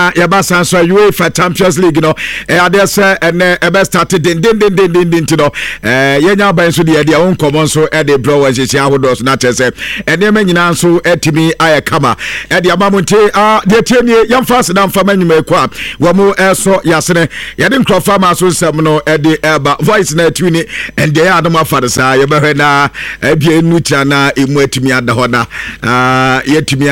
Na yɛba san so UEFA Champions League no, ɛyɛ adeɛ sɛ ɛnɛ ɛbɛ start dendendendenden nti no, yɛnya aban nso deɛ deɛ wo nkɔmmɔ nso ɛde brɛ wɔ nhyehyɛ ahodoɔ so, na kyerɛ sɛ nneɛma nyinaa nso atumi ayɛ kama ɛde ama mo. Nti deɛ tie nie, yɛmfa aseda mfa ma nnwuma ɛkɔ a wɔn ɛsɔ yɛasene yɛde nkurɔfoɔ ama so nsɛm no ɛde ɛba voice na atu ne ɛndeɛ yɛ adom afa no saa. Yɛbɛhwɛ na ebia ɛnu kyina na ɛmu atumi ada hɔ na yɛatumi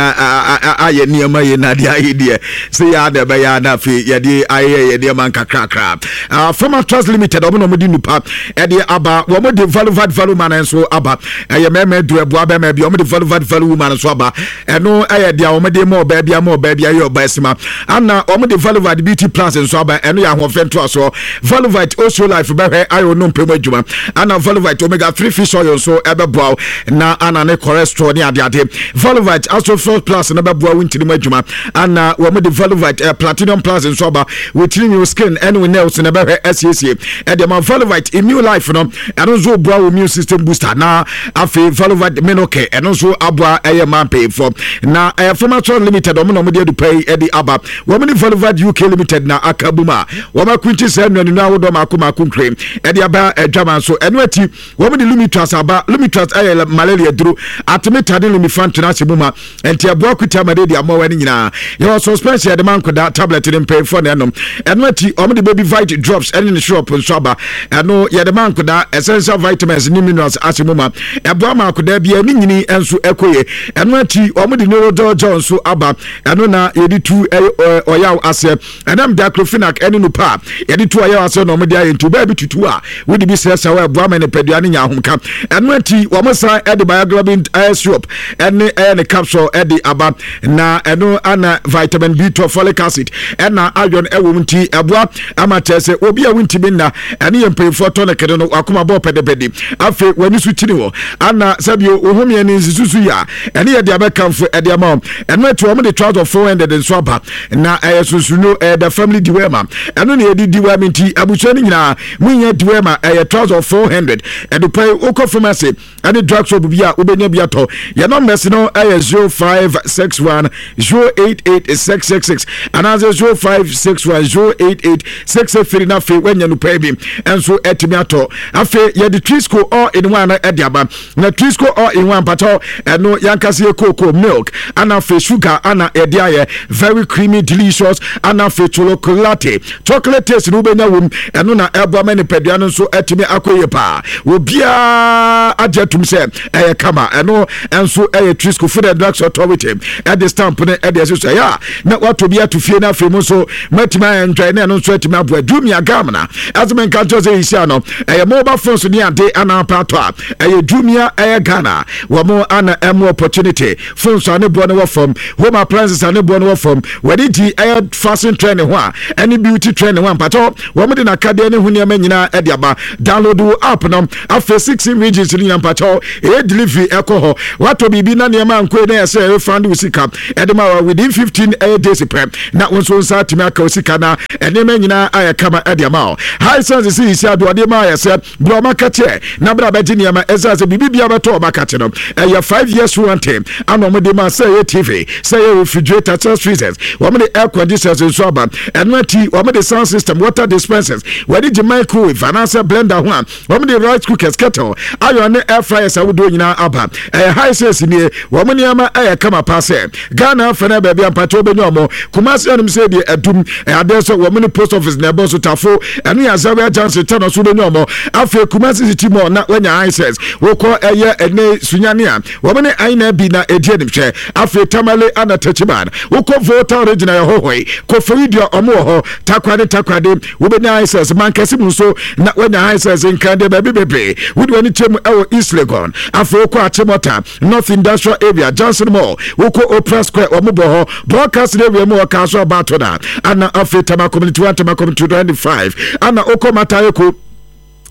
ayɛ nneɛma yɛ na deɛ ayɛ deɛ sɛ yɛ ada ɛbɛyɛ na afei yɛde ayɛ yɛ nneɛma nkakrakra. Fama Trust Limited, ɔmo na ɔmo de nupa ɛde aba. Wɔn de Valuvat Value Man nso aba. Ɛyɛ mɛmɛ duro ɛboa bɛmɛ bi. Wɔn de Valuvat Value Woman nso aba. Ɛno ɛyɛ deɛ wɔn de ma ɔbaa bi ama ɔbaa bi ayɛ ɔbaa sima. Ana wɔn de Valuvat Beauty Plus nso aba. Ɛno yɛ ahoɔfɛ ntoasoɔ. Valuvat Osio Life bɛhwɛ ayɛ ɔno mpɛ mu adwuma. Ana Valuvat Omega 3 Fish Oil nso ɛbɛboa na ana ne cholesterol ne adeade. Valuvat Astrofil Plus no bɛboa wo ntini mu adwuma. Ana wɔn de Valuvat Platinum Plus nso aba. Wo tiri nwi, wo skin ɛne wo nails na ɛbɛhwɛ asiesie ɛde ma. Valuvat Immune Life no, ɛno nso boa wo immune system booster. Na afei Valuvat Menoke, ɛno nso aboa ɛyɛ mmaa mpanyinfoɔ. Na ɛyɛ Pharmatrol Limited, wɔn na wɔde adupa yi ɛde aba. Wɔn ne Valuvat UK Limited na aka bum a wɔn akunkyi sɛ nnuaninu ahodoɔ mako mako nkure ɛde aba adwama nso. Ɛno akyi wɔn de Lumitras aba. Lumitras ɛyɛ malaria duro. Artemether ne lumefantrine ahyɛ mu ma, nti ɛboa kuta malaria mmoawa no nyinaa. Yɛwɔ suspension yɛde ma nkɔda, tablet ne mpanyinfoɔ na ɛnom. Ɛno akyi wɔn de Baby Vite drops ɛne ne syrup nso aba. Ɛno yɛde ma nkɔda, essential vitamins ne minerals ahyɛ mu ma, ɛboa ma akɔda bi ɛne nyini nso ɛkɔ yie. Ɛno akyi wɔn de Neurodol gel nso aba. Ɛno na yɛde tu ɛyɛ ɔyaw aseɛ. Ɛnam diclofenac ɛne no pa a yɛde tu ɔyaw aseɛ na wɔn de ayɛ, nti ɔbaa bi tutu a wode bi srɛsrɛ wɔ, ɛboa ma nipadua no nya ahomka. Ɛno akyi wɔn san ɛde Bioglobin ɛyɛ syrup ɛne ɛyɛ ne capsule ɛde aba. Na ɛno ana vitamin B12, folic acid ɛna iron ɛwɔ mu, nti ɛboa ama kyerɛ sɛ obi a wontumi nna. Ɛne yɛ mpanyinfoɔ tonic no, wakoma bɔɔ pɛdepɛde, afei w'ani so kyini hɔ ana sɛbio wohomeɛ ne nsisusu yi a, ɛne yɛ de abɛkamfo ɛde ama wɔn. Ɛno akyi wɔn de trouser 400 nso aba. Na ɛyɛ sunsunno, ɛyɛ the family dewormer. Ɛno na yɛde deworm, nti abusua no nyinaa munya dewormer. Ɛyɛ trouser 400. Ɛdopɛ yi wokɔ pharmacy ɛne drug shop bi a wobɛnya bi atɔ. Yɛn numbers no ɛyɛ 0561 088 666 anaasɛ 0561 088 663. Na afei woanya no pɛɛ bi ɛnso atumi atɔ. Afei yɛde Trisco all in one no ɛde aba. Na Trisco all in one mpatɔ, ɛno yankasa yɛ cocoa, milk ana afei sugar ana yɛde ayɛ. Very creamy, delicious, ana afei chocolate chocolate taste no wobɛnya wom. Ɛno na ɛboa ma nipadua no nso atumi akɔ yie paa. Obiara agye atum sɛ ɛyɛ kama. Ɛno nso ɛyɛ Trisco. Food and Drugs Authority ɛde stamp no ɛde ɛsi so. Ɛyɛ a na wato bi ato fie no, afei mu nso matumi ayɛ ndwae na ɛno nso atumi aboa. Jumia Ghana ɛsɛ menka nkyerɛ sɛ yɛhyia no, ɛyɛ mobile phones ne ade ana apatɔ a, ɛyɛ Jumia ɛyɛ Ghana. Wɔn ana ɛmo opportunity phones a ne boɔ no wɔ fam, home appliances a ne boɔ no wɔ fam. Wɔde gyi ɛyɛ fashion trend ho a ɛne beauty trend ho a, mpatɔ wɔn de n'akadeɛ ne ho nneɛma nyinaa ɛde aba. Download wo app no. Afei 16 regions no nyinaa mpatɔ ɛyɛ delivery ɛkɔ hɔ. Watɔ biribi na nneɛma nkoe na ɛsɛ refund wo sika ɛde ma wa within 15 ɛyɛ days pɛ, na wo nso nsa atumi aka wo sika na nneɛma nyinaa ayɛ kama ɛde ama wo. Hisense si yisi ado ɔde ma ayɛ sɛ bra ɔma kakyɛ na bra bɛgye nneɛma. Ɛsɛ sɛ biribi bia bɛtɔ ɔma kakye no, ɛyɛ 5 years warranty ana ɔmo de ma, sɛ ɛyɛ TV, sɛ ɛyɛ refrigerator, chest freezers. Wɔn de air conditioners nso aba. Ɛno akyi wɔn de sound system, water dispensers. Wɔde gye microwave anaasɛ blender ho a, wɔn de rice cookers, kettle, iron ne air fryers ahodoɔ nyinaa aba. Ɛyɛ Hisense nie. Wɔn nneɛma ɛyɛ kama paa sɛ Ghana afɛ no baabi ampakyɛ wobɛnya ɔmo. Kumase anom sɛ deɛ adum ɛyɛ adeɛ sɛ wɔn ne post office na ɛbɔ so tafo. Ɛno yɛ Azaria Junction tɛnɔ so wobɛnya ɔmo. Afei Kumase City Mall na wanya Hisense. Wokɔ ɛyɛ ɛnɛ Sunyane a, wɔn ne aina bi na ɛdi anim hwɛ. Afei Tamale ana Techiman, wokɔ Volta Region a, ɛhɔ hɔ yi Koforidua ɔmo wɔ hɔ. Takwa ne Takoradi wobɛnya Hisense. Mankɛse mu nso na wanya Hisense. Nkran deɛ baabi bebree wode w'ani kyɛ mu ɛwɔ East Legon. Afei wokɔ Achimota, North Industrial Area, Johnson Mall, wokɔ Opera Square, wɔn bɔ hɔ. Broadcasting area mu wɔ Kaso Abato na ana afei Tama Community 1, Tama Community 25, ana wokɔ Mataheko.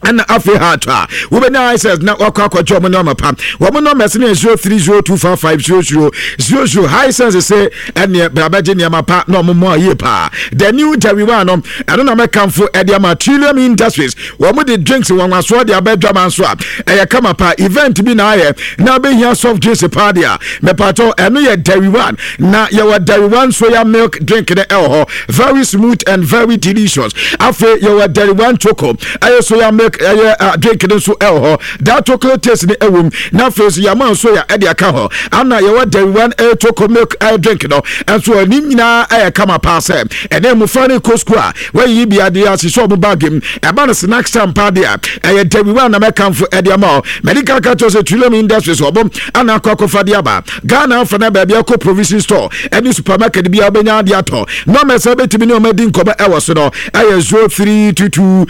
Ɛna afei ha ato a wobɛnya ISS na wakɔ akɔgye ɔmo nneɛma pa. Wɔn nɔmba no yɛ 0302550000. Hisense sɛ ɛneɛ brabɛgye nneɛma pa na ɔmo mmoa yie paa. The new Jerry One no, ɛno na mɛkamfo ɛde ama. Trillium Industries, wɔn de drinks wɔn asoɔ de aba adwama nso a ɛyɛ kama paa. Event bi na ayɛ na abɛhia soft drinks paa deɛ a, mepatɔ ɛno yɛ Derry One. Na yɛwɔ Derry One soya milk drink no ɛwɔ hɔ, very smooth and very delicious. Afei yɛwɔ Derry One choco, ɛyɛ soya milk, ɛyɛ drink no nso ɛwɔ hɔ, that chocolate taste no ɛwɔ mu. Na afei nso yɛama soya ɛde aka hɔ. Ana yɛwɔ Derry One ɛyɛ choco milk ɛyɛ drink no ɛnso, ɛne nyinaa ɛyɛ kama paa sɛ ɛnɛ mmɔfra no kɔ sukuu a, wɔayiyi bi adeɛ ahyehyɛ ɔmo bag mu. Ɛba no snacks time paa deɛ, ɛyɛ Derry One na mɛkamfo ɛde ama ɔ. Medical ka kyerɛ sɛ Trillium Industries ɔbɔ ana akɔ akɔfa de aba Ghana afa na baabi akɔ provision store ɛne supermarket bi a wobɛnya adeɛ atɔ. Nɔmba sɛ wobɛtumi ne ɔma di nkɔmmɔ ɛwɔ so no ɛyɛ 0322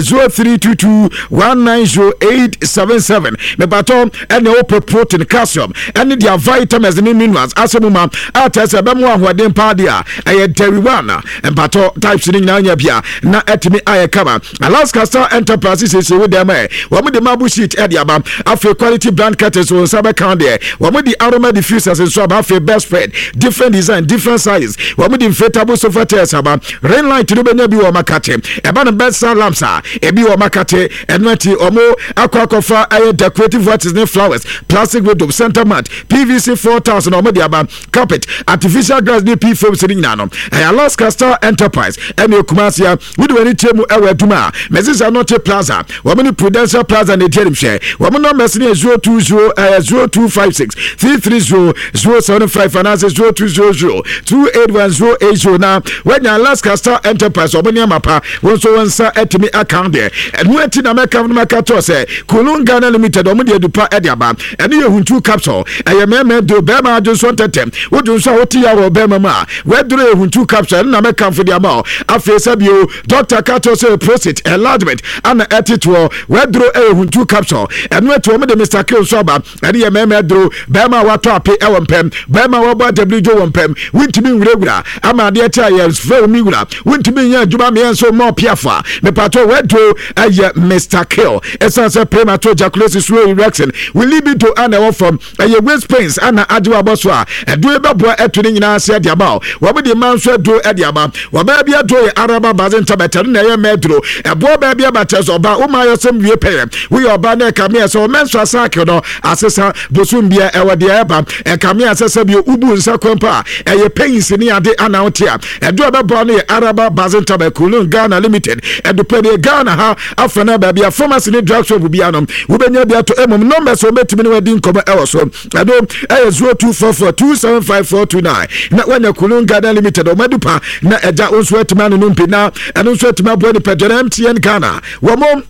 0322 190877. Mepatɔ ɛne wopɛ protein, calcium ɛne deɛ vitamins ne minerals asɛ mu ma a kyerɛ sɛ ɛbɛmo ahoɔden paa deɛ a, ɛyɛ Dairy One. Mpatɔ types no nyinaa nya bia na ɛtumi ayɛ kama. Alaska Star Enterprise siesie wo dɛm ɛ, wɔn de marble sheet ɛde aba. Afei quality brand curtains, wɔn nsa bɛka deɛ. Wɔn de aroma diffusers nso aba. Afei bedspread, different design, different sizes. Wɔn de inflatable sofa chairs aba. Ring light no bɛnya bi wɔ makate. Ɛba no bedside lamps a, ebi wɔ makate. Ɛno akyi wɔn akɔ akɔfa ɛyɛ decorative watches ne flowers, plastic window, center mat, PVC 4000 wɔn de aba, carpet, artificial grass ne p foams ne nyinaa no ɛyɛ Alaska Star Enterprise. Ɛne Kumasi a wode w'ani kyerɛ mu ɛwɔ adwuma a Mɛsisa Nɔte Plaza, wɔn ne Prudential Plaza na ɛdi anim hwɛ. Wɔn numbers ne yɛ 020 ɛyɛ 0256 330 075 anaasɛ 0200 281080 na wɔanya Alaska Star Enterprise wɔn nneɛma pa. Wɔn nso wɔn nsa atumi aka deɛ. Ɛno akyi na mɛka no mɛka kyerɛ sɛ Kulun Ghana Limited wɔn de adupa ɛde aba. Ɛno yɛ Huntu capsule, ɛyɛ mɛɛmɛ duro, bɛrima adwonso ntɛtɛm, wodwo nso a wote ya wɔ bɛrima mu a, wɔaduro yɛ Huntu capsule, ɛno na mɛkamfo de ama wo. Afei sɛ bio doctor ka kyerɛ sɛ prostate enlargement ana ɛtetoɔ, wɔaduro ɛyɛ Huntu capsule. Ɛno akyi wɔn de Mr Kill nso aba. Ɛne yɛ mɛɛmɛ duro, bɛrima a watɔ ape ɛwɔ mpɛm, bɛrima a wɔbɔ adabiri wɔ mpɛm, wontumi nwurawura ama adeɛ kyɛ a yɛ fɛ wo mi wura, wontumi nyɛ adwuma mmeɛ nso mmɔ piafo a, mepatɔ wɔaduro ɛyɛ Mr Kill. Ɛsiane sɛ premature ejaculation, slow erection, wo libido ana ɛwɔ fam, ɛyɛ waist pains ana agye wabɔ so a, ɛduro bɛboa ɛto ne nyinaa ase ɛde ama wo. Wɔn de mmaa nso aduro ɛde ama. Wɔbaa bi aduro yɛ Araba baze ntabɛtɛ no na ɛyɛ mmaa aduro, ɛboɔ baa bi abakyɛ sɛ ɔbaa wo maa yɛsɛm wie pɛyɛ. Woyɛ ɔbaa na ɛka meɛ sɛ ɔmɛ nso asaake no asesa bosom bia ɛwɔ deɛ ɛba, ɛka meɛ sɛ sɛ bio wobu nsa kwampa a ɛyɛ pains ne ade ana wote a, ɛdo a ɛbɛboa no yɛ Araba baze ntabɛ. Kulun Ghana Limited ɛdopɛ deɛ Ghana ha afa no baabi a pharmacy ne drug shop bia no wobɛnya bi ato. Mmom numbers a wɔbɛtumi ne wadi nkɔmmɔ ɛwɔ so, ɛno ɛyɛ 0244 275429 na woanya Kulun Ghana Limited ɔmadu pa na ɛgya wo nso atumi anonom bi na ɛno nso atumi aboa nipadua no. MTN Ghana wɔn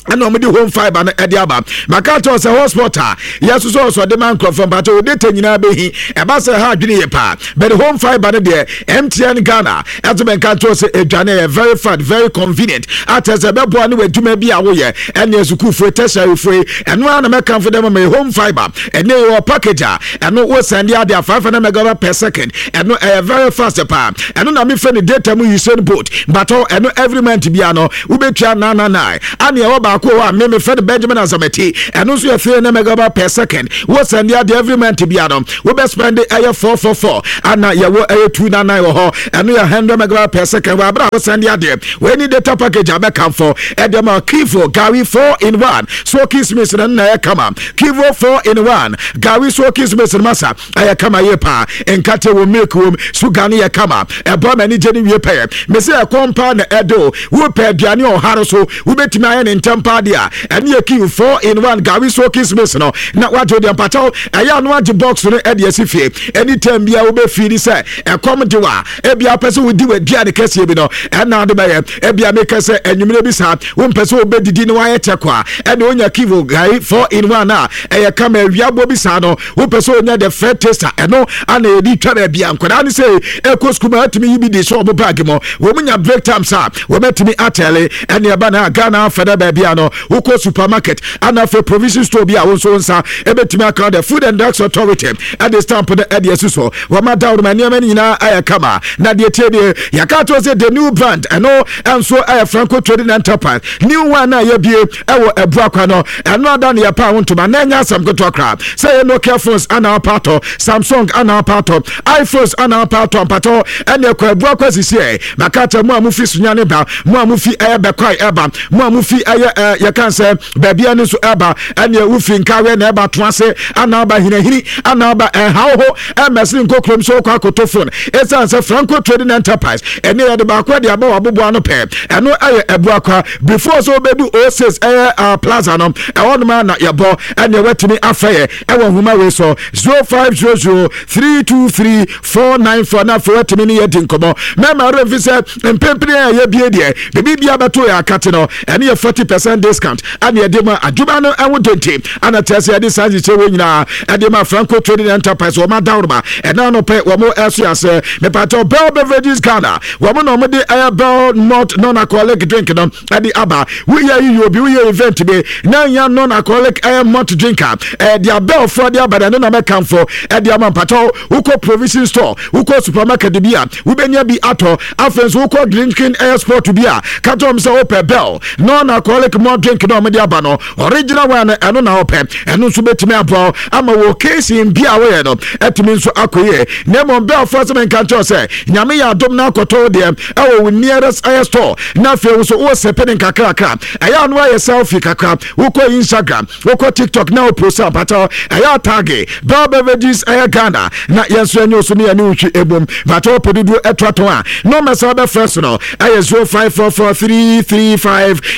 ɛna wɔn de home fibre no ɛde aba. Maka kyerɛ sɛ hotspot a yɛsosɔ ɔsɔ de ma nkurɔfoɔ mpakyɛ wo data nyinaa bɛhi ɛba sɛ ha adwene yɛ paa, but home fibre no deɛ, MTN Ghana ɛto bɛnka kyerɛ sɛ adwane yɛ very fast, very convenient, akyɛ sɛ ɛbɛboa ne w'adwuma bi a woyɛ ɛne sukuufoɔ, tertiaryfoɔ. Ɛno ara na mɛkamfo dɛ ma home fibre. Ɛne yɛwɔ package a ɛno wo send ade a 500 megabyte per second. Ɛno ɛyɛ very fast paa. Ɛno na mefɛ no data mu Usain Bolt batɔ. Ɛno every month bia no wobɛtua 999. Ane ɛwɔ baako hɔ a me mefɛ no Benjamin Azamati. Ɛno nso yɛ 300 megabyte per second. Wo send ade every month bia no wobɛ spend ɛyɛ 444. Ana yɛwɔ ɛyɛ 299 wɔ hɔ, ɛno yɛ 100 megabyte per second wɔ abere a wo send adeɛ. Wei ni data package a bɛkamfo ɛde ma. Kivo Gari 4 in 1 soaking smith no na ɛyɛ kama. Kivo 4 in 1 Gari soaking smith no masa ɛyɛ kama yie paa. Nkate wɔ, milk wɔ mu, sugar no yɛ kama, ɛbɔ ma ani gye ne wie pɛyɛ. Mese ɛkɔm paa na ɛde o, wopɛ aduane ɔhare so wobɛtumi ayɛ ne ntɛm paa deɛ a, ɛne yɛ Kivo 4 in 1 Gari soaking smith no na wagye deɛ. Mpakyɛw ɛyɛ ano agye box no ɛde asi fie. Anytime bia wobɛfii ni sɛ ɛkɔm de wa, ebia wopɛ sɛ wodi w'aduane kɛseɛ bi no, ɛna de bɛyɛ. Ebia meka sɛ anwummerɛ bi saa wompɛ sɛ wobɛdidi na woayɛ kyɛkɔ a, ɛne wonya Kivo Gari 4 in 1 a ɛyɛ kama. Awiabɔ bi saa no wopɛ sɛ wonya the fair taste a, ɛno ana yɛde twa baabi a nkwadaa no sɛ ɛkɔ sukuu ma atumi yi bi de hyɛ ɔmo bag mu. Wɔn nya break times a, wɔbɛtumi atɛle. Ɛne ɛba na Ghana afɛ dɛ baabi a a no wokɔ supermarket ana afei provision store bi a wo nso nsa ɛbɛtumi aka. The Food and Drugs Authority ɛde stamp no ɛde asi so. Wɔma daworo ma nneɛma no nyinaa ayɛ kama. Na deɛ tie deɛ yɛka to sɛ the new brand, ɛno ɛnso ɛyɛ Franco Trading Enterprise new one a yɛbie ɛwɔ Abuakwa no. Ɛno ada ne yɛpa ho ntoma na ɛnyɛ asɛm ketewa koraa sɛ yɛ Nokia phones ana apa atɔ, Samsung ana apa atɔ, iPhones ana apa atɔ. Mpatɔ ɛne ɛkɔ Abuakwa sisi ɛ maka kyɛ mo a mofi Sunyane ba, mo a mofi ɛyɛ Bɛkwae ɛba, mo a mofi ɛyɛ ɛ yɛka sɛ baabi ɛno nso ɛba, ɛneɛ wofi Nkareɛ na ɛba to ase ana aba Hinahini ana aba ɛhaw ho ɛmɛsene nkɔ kurom sɛ wokɔ akoto phone, ɛsiane sɛ Franco Trading Enterprise ɛne yɛde baako ɛde aba wɔ aboboa no pɛɛ. Ɛno ɛyɛ Abuakwa before sɛ wobɛdu O6 ɛyɛ plaza no, ɛhɔ nom a na yɛbɔ. Ɛneɛ watumi afɛ yɛ ɛwɔ nhoma wei so 0500 323 494 na afei watumi ne yɛdi nkɔmmɔ. Mɛma werɛ mfi sɛ mpempene a yɛbie deɛ biribi bia bɛto yɛ akate no, ɛne yɛ 40% discount ane yɛde ma adwuma no ɛho dente ana kyerɛ sɛ yɛde saa nhyehyɛ wɔ nyinaa ɛde ma Franco Trading Enterprise. Wɔn adaworoma ɛna anɔpɛ wɔn ɛso asɛ mepatɔ Bell Beverages Ghana, wɔn na wɔn de ɛyɛ Bell Malt non-alcoholic drink no ɛde aba. Woyɛ yiyi obi, woyɛ event bi na nya non-alcoholic ɛyɛ malt drink a ɛde abɛlfoɔ de aba na ɛno na mɛkamfo ɛde ama. Mpatɔ wokɔ provision store, wokɔ supermarket bi a, wobɛnya bi atɔ. Afei nso wokɔ drinking ɛyɛ sport bi a, ka kyerɛ wɔn sɛ wopɛ Bell non-alcoholic malt drink na wɔde aba no, original one no, ɛno na wopɛ. Ɛno nso bɛtumi aboa ama wɔ occasion bi a woyɛ no ɛtumi nso akɔ yie. Na mmom Bellfoɔ sɛ menka nkyerɛ sɛ Nyame yɛ adom no akɔtɔ wo deɛ ɛwɔ wo nearest ɛyɛ store na afei wo so wɔ sɛpe ne nkakrakra, ɛyɛ ano ayɛ selfie kakra, wokɔ Instagram, wokɔ TikTok na wopost a, mpatɔ ɛyɛ atag Bell Beverages ɛyɛ Ghana na yɛn nso yɛnyɛ so ne yɛne wotwi ebom. Mpatɔ wopɛ dodoɔ ɛtoatɔn a, nɔmba sɛ wobɛfrɛ so no ɛyɛ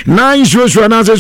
0544335900 anaasɛ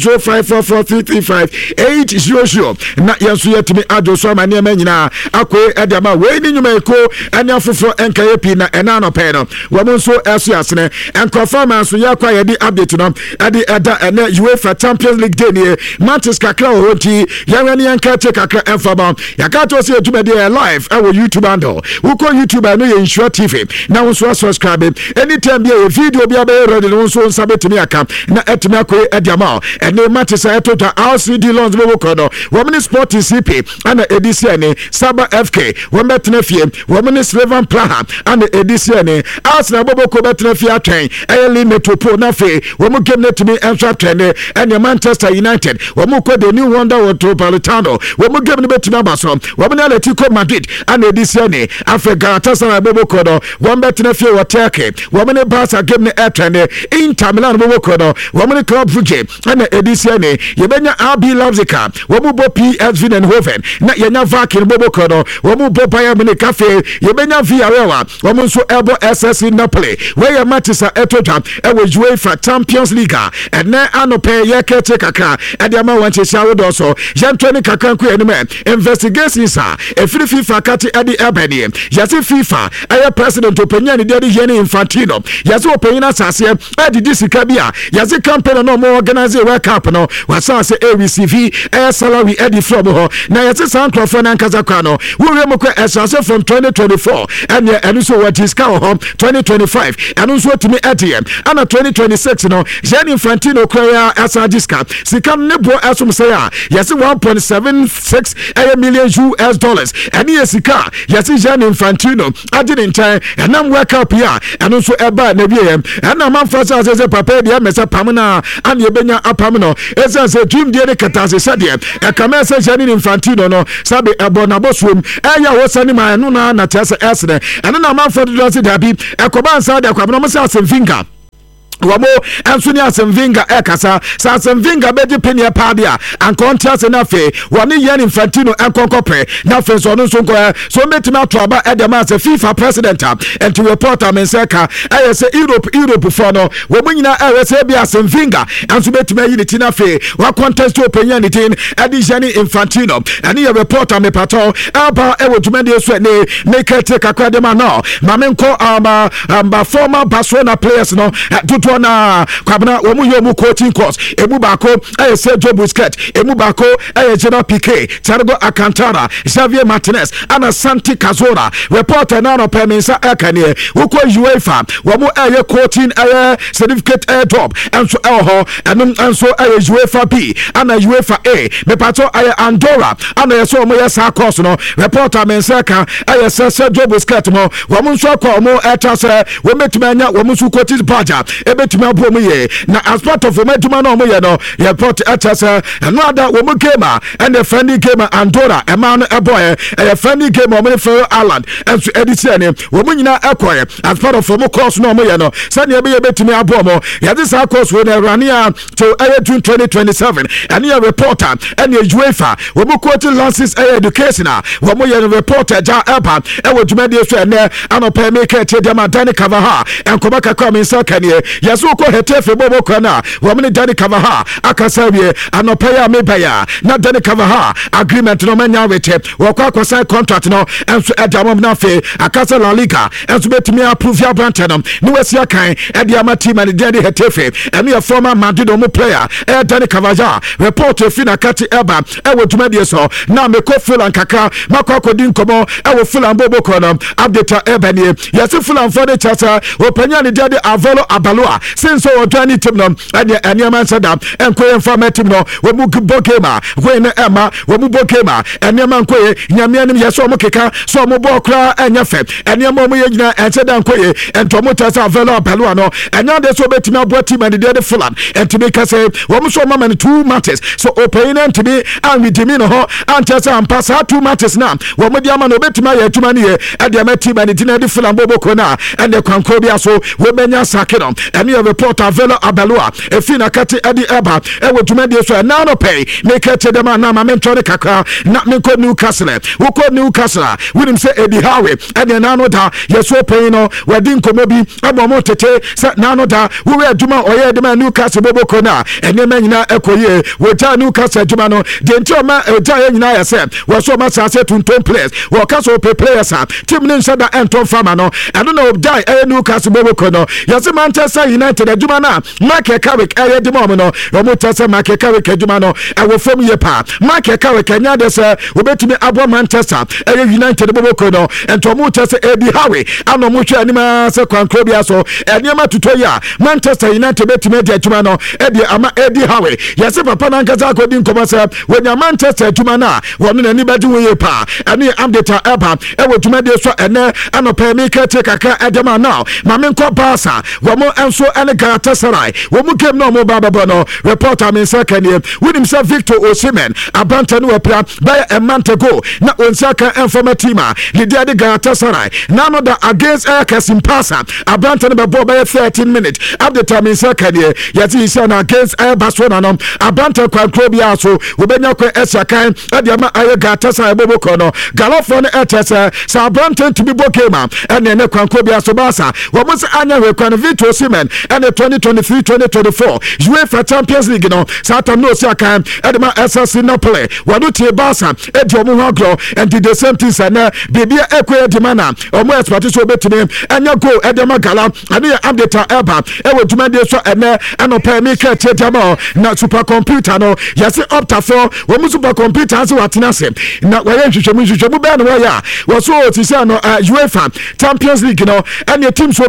0544335800 na yɛn nso yɛtumi adwo so ama nneɛma nyinaa akoe ɛde ama. Wei ne nnwumayɛkuo ɛne afoforɔ ɛnkɛyɛ pii na ɛna anɔpɛ no wɔn nso ɛso asene nkurɔfoɔ ama nso yɛkɔ a yɛde update no ɛde ɛda. Ɛnɛ UEFA Champions League day nie, matches kakra wɔ hɔ nti yɛnwɛ ne yɛnka akyi kakra ɛmfa ma yɛka to sɛ yɛdwumadi yɛ live ɛwɔ YouTube handle. Wokɔ YouTube a, ɛno yɛ Nhyira TV na wo nso asubscribe. Anytime bi a yɛ video bi abɛyɛ ready no, wo nso nsa bɛtumi aka na ɛtumi akɔyɛ ɛde ama. Ɛne matches a ɛto dwa, RCD Lens bɛwɔ no, wɔn ne Sporting CP ana ɛdi si ɛne Saba FK wɔn bɛtena fie, wɔn ne Slovan Praha ana ɛdi si ɛne Arsenal bɔbɔko bɛtena fie atwɛn ɛyɛ Lille Metropole na afei wɔn game no tumi nso atwɛn ne ɛne Manchester United wɔn kɔ the new wonder Metropolitano, wɔn game no bɛtumi aba so, wɔn ne Atletico Madrid ana ɛdi si ɛne. Afei Galatasaray bɔbɔko no, wɔn bɛtena fie wɔ Turkey, wɔn ne Barca game no ɛtwɛn ne Inter Milan bɔbɔko no, wɔn ne Club Brugge ɛna ɛdi si ɛne. Yɛbɛnya RB Leipzig a wɔn bɔ PSV Eindhoven na yɛnya Viking bɔbɔko no, wɔn bɔ Bayern Munich. Afei yɛbɛnya Villarreal a wɔn nso ɛbɔ SSC Napoli. Wɔyɛ matches a ɛtɔ dwa ɛwɔ UEFA Champions League a ɛnɛ anɔpɛ yɛkɛkye kakra ɛde ama wɔn nhyehyɛ ahodoɔ so. Yɛntɔ ne kakra nko yɛn anim. Investigations a ɛfiri FIFA kate ɛde ɛbɛ nie, yɛse FIFA ɛyɛ president ɔpanyin a ne deɛ de yɛ ne Infantino, yɛse ɔpanyin asaseɛ ɛdidi sika bi a yɛse campaign na ɔmo organize World Cup no, wasase ɛreceive ɛyɛ salary ɛde firi ɔmo hɔ. Na yɛse saa nkurɔfoɔ no ankasa kwa no wowura mu kɔ ɛsase from 2024, ɛneɛ ɛno nso wɔgye sika wɔ hɔ, 2025 ɛno nso otumi ɛdeɛ, ɛna 2026 no Gianni Infantino kura yɛ asan agye sika. Sika no ne boɔ ɛsom sɛ a yɛse 1.76 ɛyɛ million US dollars. Ɛne yɛ sika a yɛse Gianni Infantino agye ne nkyɛn ɛnam World Cup yi a ɛno nso ɛbaa na wieɛ. Ɛna amanfoɔ sɛ asɛ sɛ papa yi deɛ ɛmɛ sɛ pam no a ane ɛbɛnya apam no, ɛsiane sɛ dwumdie ne kɛtase sɛdeɛ ɛkama ɛsɛ Gianni Infantino no sabe ɛbɔ n'abɔsoom ɛyɛ a wɔsane ma ɛno na na kyerɛ sɛ ɛsene. Ɛno na amanfoɔ dodoɔ sɛ daabi, ɛkɔba nsa de akwabena ɔmo sɛ asɛm finka wɔn nso ne Arsene Wenger ɛkasa sɛ Arsene Wenger bɛgye penneɛ paa de a anka ɔnte ase no. Afei wɔne Gianni Infantino nkɔnkɔpɛ na afei nso ɔno nso nkɔɛ so ɔmbɛtumi ato aba ɛde ma sɛ FIFA president a. Nti report a me nsa ka ɛyɛ sɛ Europe foɔ no wɔn nyinaa ɛyɛ sɛ ebi Arsene Wenger nso bɛtumi ayi ne ti na afei wacontest ɔpanyin a ne din ɛde Gianni Infantino. Ɛne yɛ report a mepatɔ ɛba ɛwɔ dwumadie so. Ɛne meka tie kakra de ma no ma menkɔ ama former Barcelona players no dodoɔ. Dodoɔ naa, Kwabena, wɔn yɛ wɔn coaching course. Emu baako ɛyɛ Sergio Busquets, emu baako ɛyɛ Gerard Piqué, Thiago Alcantara, Xavier Martinez ana Santi Cazorla. Reporter naa nɔpɛ me nsa ɛka neɛ wokɔ UEFA, wɔn ɛyɛ coaching ɛyɛ certificate ɛyɛ job ɛnso ɛwɔ hɔ. Ɛno nso ɛyɛ UEFA B ana UEFA A. Mepatɔ ɛyɛ Andorra ana yɛ sɛ wɔn yɛ saa course no. Reporter me nsa ɛka ɛyɛ sɛ Sergio Busquets mo, wɔn nso akɔ, wɔn ɛta sɛ wɔn bɛtumi anya wɔn nso coaches badge a ɛbɛtumi aboɔ mu yie na as part of wɔn adwuma no a wɔyɛ no. Report ɛkyɛ sɛ ɛno ada wɔn game a ɛne friendly game a Andorra ɛmaa no ɛbɔɛ, ɛyɛ friendly game a wɔn ne Faroe Island ɛnso ɛde si ɛne wɔn nyinaa ɛkɔɛ as part of wɔn course no a wɔyɛ no, sɛnea ɛbɛyɛ bɛtumi aboɔ mo. Yɛde saa course wɔ no ɛwurane a to ɛyɛ June 2027. Ɛne yɛ report a ɛne UEFA wɔn coaching license ɛyɛ education a wɔn yɛ no. Report agya ɛba ɛwɔ dwumadie so ɛnɛ anɔpɛ. Mi ka ɛkyɛ deɛ Dani Carvajal nkɔmɔ kakra mi nsa kaneɛ yɛsɛ wokɔ Getafe bɔ bɔ kwan a wɔn ne Dani Carvajal akasa awie. Anɔpɛ yi a meba yi a na Dani Carvajal agreement no ɔmanya awete, wɔkɔ akɔsan contract no ɛnso ɛde ama mu. Na afei akasa La Liga ɛnso bɛtumi approve aberantɛ no ne wasi akan ɛde ama team a ne deɛ de Getafe. Ɛno yɛ former Madrid ɔmo player ɛyɛ Dani Carvajal. Report efi na kati ɛba ɛwɔ dwumadie so. Na mekɔ Fulham kakra, makɔ akɔdi nkɔmmɔ ɛwɔ Fulham bɔbɔkɔ no. Update a ɛba nie, yɛse Fulhamfoɔ de kyerɛ sɛ ɔpanyin a ne deɛ de Alvaro Arbeloa sen sɛ ɔjoin ne team no, ɛdeɛ ɛnneɛma nsɛ da ɛnkɔ yɛn fa ma team no. Wɔn mu bɔ game a wei ne ɛma wɔn mu bɔ game a ɛnneɛma nkɔ yɛ. Nyame anim yɛ sɛ wɔn keka sɛ wɔn bɔ koraa ɛnyɛ fɛ, ɛnneɛma wɔn yɛ nyinaa ɛnsɛ da nkɔ yɛ. Ɛnti wɔn kyerɛ sɛ Alvaro Arbeloa no ɛnyɛ adeɛ sɛ wɔbɛtumi aboa team a ne deɛ de Fulham. Ɛntumi kɛsɛ wɔn nso wɔn ama no two matches so ɔpanyin no ntumi anwidimi ne ho ankyerɛ sɛ ampa saa two matches na wɔn de ama no obɛtumi ayɛ adwuma no yɛ ɛde ama team a ne din de Fulham bɔbɔkuo no a, ɛne kwankoro bi aso wɔbɛnya sake no. Ɛne yɛ report Alvaro Arbeloa efi nakate ɛde ɛba ɛwɔ dwumadie so ɛna no pɛi. Meka kyɛ dɛm a na ma mentɔ ne kakra na menkɔ Newcastle. Wokɔ Newcastle a, wonim sɛ Eddie Howe ɛne ɛna no da yɛso ɔpanyin no wɔadi nkɔmmɔ bi ama ɔmo tete sɛ n'ano da wowɛ adwuma a ɔyɛ de ma Newcastle bɔbɔkuo no a, ɛnneɛma nyinaa ɛkɔ yie. Wɔgyaa Newcastle adwuma no deɛ nti ɔma ɛgyaa yɛ nyinaa yɛ sɛ wɔso ɔma asase tuntum players. Wɔka sɛ ɔpɛ players a team ne nhyɛ da ɛntɔ mfa no. Ɛno na ɔgyae ɛyɛ Newcastle bɔbɔkuo no. Yɛse Manchester United adwuma no a Michael Carrick ɛyɛ de ma ɔmo no, ɔmo kyɛ sɛ Michael Carrick adwuma no ɛwɔ fam yie paa. Michael Carrick ɛnyɛ adeɛ sɛ wɔbɛtumi aboa Manchester ɛyɛ United bɔbɔkuo no. Nti ɔmo kyɛ sɛ Eddie Howe ana ɔmo hwɛ anim sɛ kwankoro bi so ɛnneɛma tutɔ yi a, Manchester United bɛtumi adi adwuma no ɛde ama Eddie Howe. Yɛse papa no ankasa akɔdi nkɔmmɔ sɛ wɔnya Manchester adwuma no a, wɔno n'ani bɛgye ho yie paa. Ɛno yɛ update a ɛba ɛwɔ dwumadie so ɛnɛ anɔpɛ. Meka tie kakra ɛde ma now. Ma menkɔ Barca, wɔn nso ɛne Galatasaray wɔn game na wɔn ba bɛbɔ no. Report a me nsa ka nie, wonim sɛ Victor Osimhen aberantɛ no wapira bɛyɛ a month ago na wɔnsa ka ɛmfama team a ne deɛ de Galatasaray na no da against ɛyɛ Kasimpasa. Aberantɛ no bɛbɔ bɛyɛ 13 minutes. Update a me nsa ka nie, yɛte yi sɛ na against ɛyɛ Barcelona no, aberantɛ kwankuro biara so wɔbɛnya kwan asi akan ɛde ama ɛyɛ Galatasaray bɔbɔkɔ no. Galafoɔ no ɛkyɛ sɛ aberantɛ ntumi bɔ game a, ɛne ɛne kwankuro biara so Barca wɔn sɛ anya hwɛ kwan. Victor Osimhen ɛne 2023-2024 UEFA Champions League no saa tam no osi akan ɛde ma SSC Napoli, wɔn tie Barca edi wɔn ho agorɔ. Nti the same thing sɛ nɛ biribi ɛkɔ yɛ di ma na wɔn expect sɛ wɔbɛtumi ɛnyɛ goal ɛde ma Gala. Ɛne yɛ update a ɛba ɛwɔ dwumadie so ɛnɛ ɛnɔpɛ. Mi ka tie di ama na super computer no, yɛsi Optafoɔ wɔn super computer ase wɔatena ase na wɔyɛ nhwehwɛmu. Nhwehwɛmu bɛɛ na wɔyɛ a wɔso osisi ano UEFA Champions League no ɛne teams wɔn